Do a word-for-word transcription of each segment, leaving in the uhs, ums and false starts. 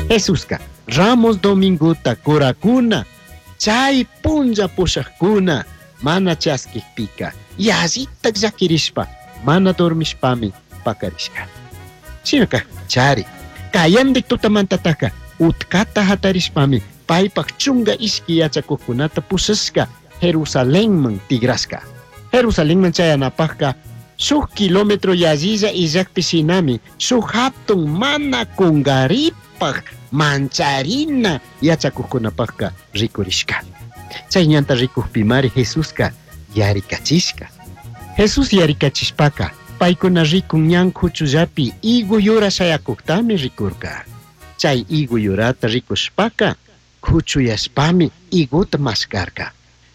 Jesuska Ramos Domingota kurakuna chay punlla pushajkuna mana chaskijpika yallitak llakirishpa mana dormishpami pakarishka. Shinaka chari kayandik tutamantataka utkata hatarishpami paypak chunga ishki yachakukkunata pushashka Jerusalenman tigrashka. Jerusalenman chayanapajka shuk kilómetro yallilla illakpi shinami shuk hatun mana kungaripaj mancharina yachakukkunapajka rikurishka. Chay ñanta rikukpimari Jesuska yarikachishka. Jesús yarikachishpaka paykuna rikun ñan kuchullapi higo yura shayakuktami rikurka. Chay higo yurata rikushpaka kuchuyashpami higota maskarka.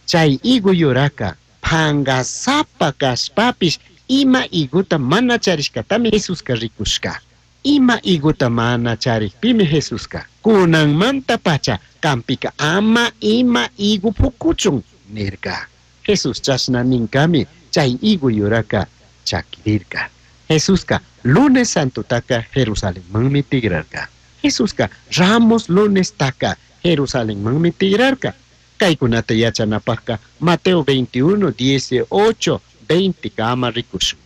Chay higo yuraka pangasapa kashpapish ima higota mana charishkatami Jesuska rikushka. Ima higota mana charikpimi Jesuska kunanmanta pacha kampika ama ima higo pukuchun nirka. Jesús chashna ninkami chay higo yuraka chakirirka. Jesuska lunes santotaka Jerusalenmanmi tigrarka. Jesuska Ramos lunestaka Jerusalenmanmi tigrarka. Kaykunata yachanapajka Mateo veintiuno, dieciocho, veinte kama rikushun.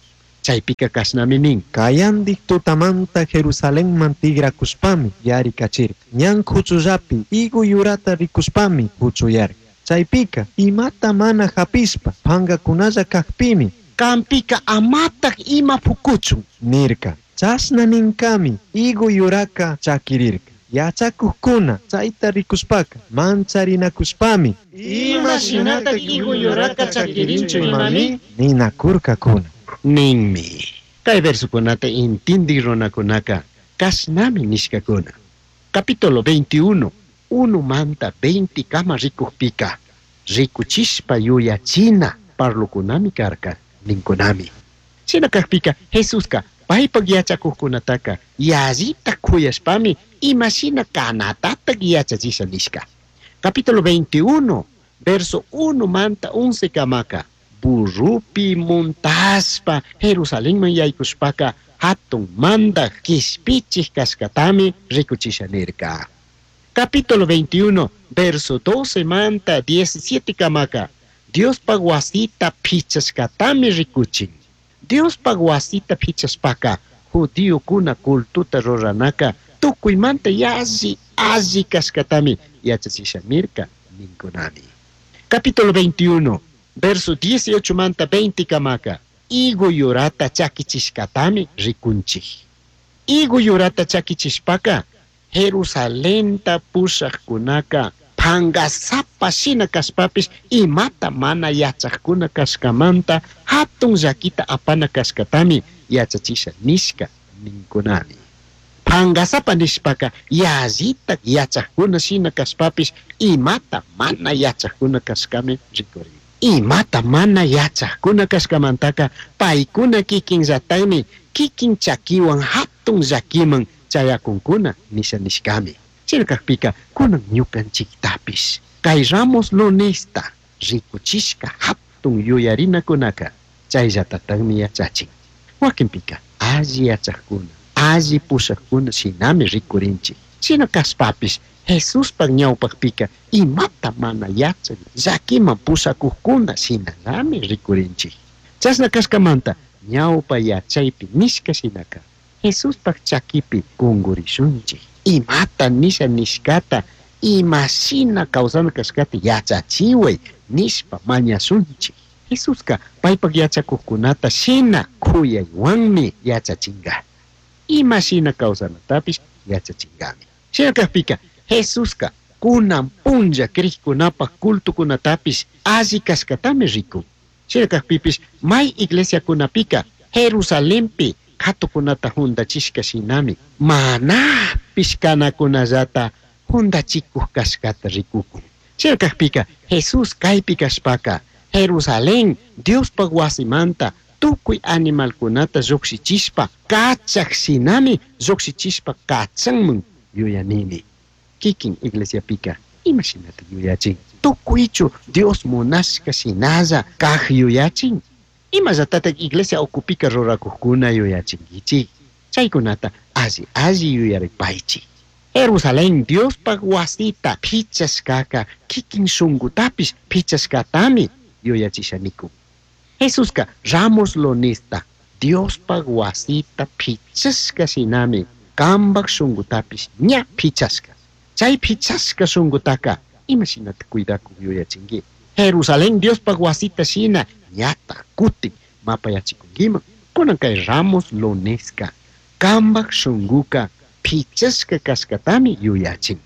Chaypika kashnami nin. Kayandik tutamanta Jerusalenman tigrakushpami yarikachirka. Ñan kuchullapi higo yurata rikushpami kuchuyarka. Chaypika imata mana hapishpa pangakunalla kakpimi kampika amatak ima pukuchun nirka. Chashna ninkami higo yuraka chakirirka. Yachakukkuna chayta rikushpaka mancharinakushpami ima shinatak higo yuraka chakirinchu imami ninakurkakuna. Ninmi. Kay versukunata intindik runakunaka kashnami nishkakuna. Capítulo veintiuno, uno manta veinte kama rikukpika rikuchishpa yuyachina parlukunami karka ninkunami. Shina kakpika Jesuska paypak yachakukkunataka yallita kuyashpami imashina kanatatak yachachisha nishka. Capítulo veintiuno, verso uno manta once kamaka burrupi montashpa Jerusalenman yaykushpaka hatun mandak kishpichik kashkatami rikuchisha nirka. Capítulo veintiuno, verso doce manta diecisiete kamaka Diospaq wasita pichashkatami rikuchin. Diospaq wasita pichashpaka judíokuna cultuta ruranaka tukuymanta yalli alli kashkatami yachachisha nirka ninkunami. Capítulo veintiuno, verso dieciocho manta veinte kamaka higo yurata chakichishkatami rikunchik. Higo yurata chakichishpaka Jerusalenta pushajkunaka pangasapa shina kashpapish imata mana yachajkuna kashkamanta hatun llakita apana kashkatami yachachisha nishka ninkunami. Pangasapa nishpaka yallita yachajkuna shina kashpapish imata mana yachajkuna kashkami rikurin. Imata mana yachajkuna kashkamantaka paykuna kikinllataymi kikin chakiwan hatun llakiman chayakunkuna nisha nishkami. Shina kakpika kunan ñukanchiktapish kay Ramos lunesta rikuchishka hatun yuyarinakunaka chayllatataqmi yachachin. Wakinpika alli yachajkuna alli pushajkuna shinami rikurinchik. Shina kashpapish Jesuspaq ñawpaqpika imata mana yachak llakiman pushakuqkuna shinallami rikurinchik. Chashna kashkamanta ñawpa yachaypi nishka shinaka Jesuspaq chakipi kungurishunchik. Imata nisha nishkata imashina kawsana kashkata yachachiway nishpa mañashunchik. Jesuska paypak yachakuqkunata shina kuyaywanmi yachachinga. Imashina kawsanatapish yachachingami. Shina kakpika Jesuska kunan punlla krikkunapaq cultukunatapish alli kashkatami rikun. Shina kakpipish may iglesiakunapika Jerusalenpi katukunata juntachishka shinami manapish kanakunallata juntachikuq kashkata rikukun. Shina kakpika Jesús kaypi kashpaka Jerusalén Diospaq wasimanta tukuy animalkunata lluqshichishpa kachaq shinami lluqshichishpa kachanman yuyanini. Kikin iglesiapika imashinata yuyachin. Tukuychu Dios munashka shinalla kaq yuyachin. Imallatataq iglesia ukupika rurakuqkuna yuyachinkichik. Chaykunata alli alli yuyaripaychik. Jerusalén Diospaj wasita pichashkaka kikin shungutapish pichashkatami yuyachisha nikun. Jesuska Ramos Lonista Diospaj wasita pichashka shinami kambaj shungutapish ña pichashka. Chay pichashka shungutaka ima shinata cuidakuk yuyachinki. Jerusalén Diospaj wasita shina ñataj kutin mapayachikunkiman. Kunan kay Ramos Loneska kambaj shunguka pichashka kashkatami yuyachin.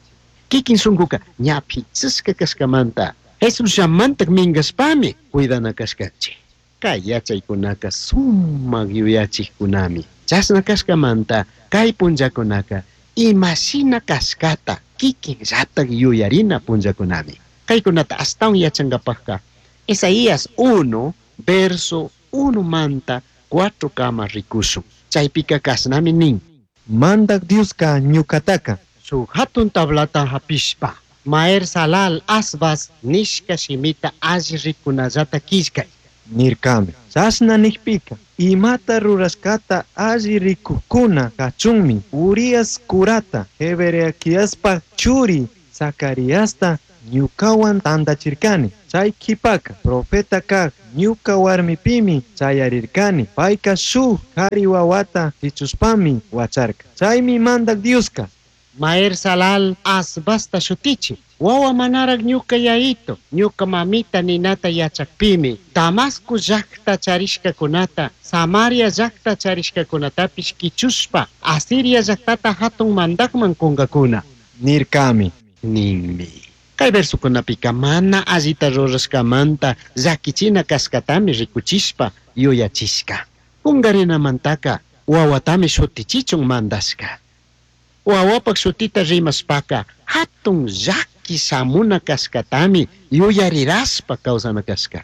Kikin shunguka ña pichashka kashkamanta Jesusllamantak minkashpami cuidana kashkanchik. Kay yachaykunaka sumak yuyachikkunami. Chashna kashkamanta kay punllakunaka imashina kashkata kikinllatak yuyarina punllakunami. Kaykunata ashtawan yachankapakka Isaías uno verso uno manta cuatro kama rikushun. Chaypika kashnami nin. Mandak Dioska ñukataka Shuk hatun tablata hapishpa Maher Salal Asbas nishka shimita alli rikunallata killkay. Nirkami. Chashna nikpika imata rurashkata alli rikukkuna kachunmi Urias kurata Jeberequiaspaj churi Zacariasta ñukawan tantachirkani. Chay kipaka profeta kaj ñuka warmipimi chayarirkani. Payka shuk kari wawata chichushpami wacharka. Chaymi mandak Dioska Maher Salal Asbasta shutichi. Wawa manarak ñuka yayito, ñuka mamita ninata yachakpimi, Damasco llakta charishkakunata, Samaria llakta charishkakunatapish kichushpa, Asiria llaktata hatun mandakman kunkakuna. Nirkami. Ninmi. Kay versukunapika mana allita rurashkamanta llakichina kashkatami rikuchishpa yuyachishka. Kungarinamantaka wawatami shutichichun mandashka. Wawapak shutita rimashpaka hatun llaki shamuna kashkatami yuyarirashpa kawsana kashka.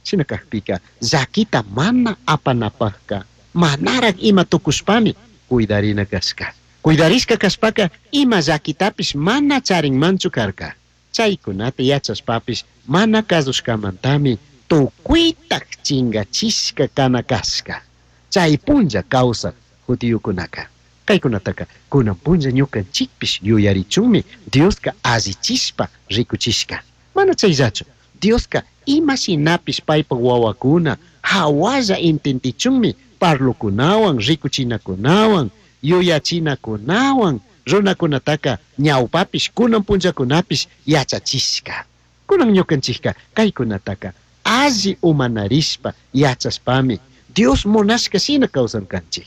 Shina kakpika llakita mana apanapakka manarak ima tukushpami cuidarina kashka. Cuidarishka kashpaka ima llakitapish mana charinmanchu karka. Chaykunata yachashpapish mana kasushkamantami tukuytak chingachishka kana kashka. Chay punlla kawsak judiokunaka. Kaykunataka kunan punlla ñukanchikpish yuyarichunmi Dioska allichishpa rikuchishka. Mana chayllachu, Dioska ima shinapish paypak wawakuna hawalla entendichunmi parlokunawan, rikuchinakunawan, yuyachinakunawan runakunataka ñawpapish kunan punllakunapish yachachishka. Kunan ñukanchikka kaykunataka alli umanarishpa yachashpami Dios munashka shina kawsankanchik.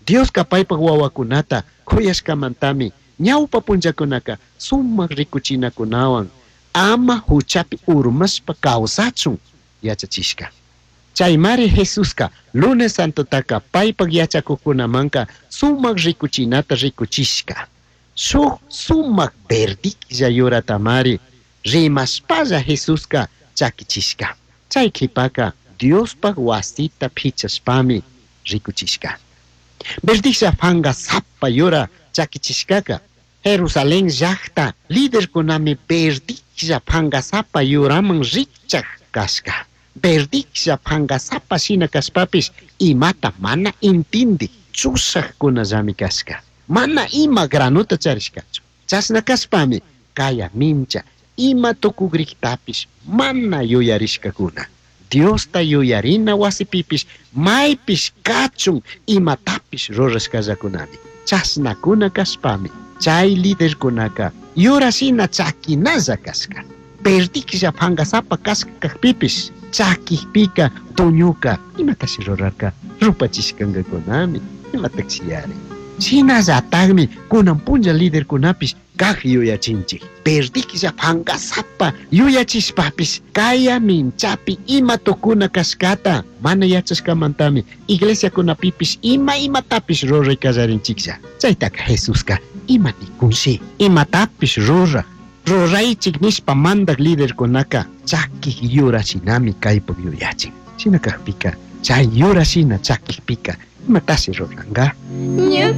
Dioska paypak wawakunata kuyashkamantami ñawpa punllakunaka sumak rikuchinakunawan ama huchapi urmashpa kawsachun yachachishka. Chaymari Jesuska lunes santotaka paypak yachakuqkunamanka sumak rikuchinata rikuchishka. Shuk sumak verdiklla yuratamari rimashpalla Jesuska chakichishka. Chay qhipaka Diospaj wasita pichashpami rikuchishka. Verdiklla fanga sapa yura chakichishkaka Jerusalén llaqta liderkunami verdiklla fangasapa yuraman rikchaq kashka. Verdiklla fangasapa shina kashpapish imata mana intindi chushaqkunallami kashka. Mana ima granuta charishkachu. Chashna kashpami kaya mincha ima tukugriktapish mana yuyarishkakuna. Diosta yuyarina wasipipish maypish kachun imatapish rurashkallakunami. Chashnakuna kashpami chay liderkunaka yurashina chakinalla kashka. Verdiklla fangasapa kashka kakpipish chakikpika tuñuka imatashi rurarka rupachishkankakunami imatakshiyari. Shinallatakmi kunan punlla liderkunapish kaq yuyachinchik. Verdiklla fangasapa yuyachishpapish kaya minchapi ima tukuna kashkata mana yachashkamantami iglesiakunapipish ima imatapish ruray kallarinchiklla. Chaytaka Jesuska ima nikunshi imatapish ruraj ruraychik nishpa mandak liderkunaka chakik yurashinami kaypuk yuyachin. Shina kakpika chay yurashina chakikpika imatashi ruranka. Ñuka